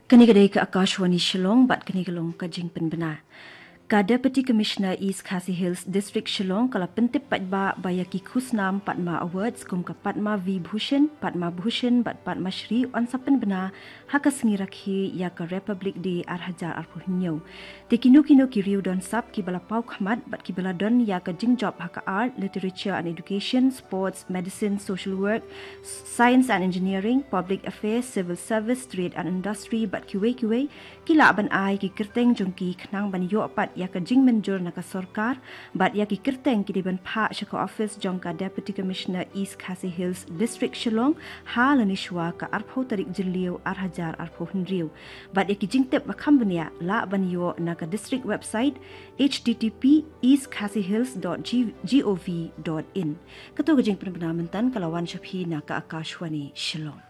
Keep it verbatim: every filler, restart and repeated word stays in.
Kane ka dei ka Akashvani Shillong bad kane ka long ka jingpynbna. Ka Deputy Commissioner East Khasi Hills District Shillong ka la pyntip paidbah ba ïa ki khusnam Padma Awards kum ka Padma Vibhushan, Padma Bhushan bad Padma Shri yn sa pynbna ha ka sngi Rakhe ïa ka Republic Day ar hajar arphew hynñiew. Te kino kino ki riew don sap kiba la paw khmat bad kiba la don ïa ka jingjop ha ka art, literature and education, sports, medicine, social work, science and engineering, public affairs, civil service, trade and industry bad kiwei kiwei, ki lah ban ai ki kyrteng jong ki khnang ban ïoh pat ïa ka jingmynjur na ka sorkar bad ïa ki kyrteng ki dei ban phah sha ka office jong ka Deputy Commissioner East Khasi Hills District Shillong ha lane shuwa ka arphew tarik Jylliew ar hajar arphew hynriew. Bad ïa ki jingtip ba kham bniah lah ban ïoh na ka district website, http east khasi hills dot gov dot in. Kato ka jingpynbna mynta ka la wan sha phi na ka Akashvani Shillong.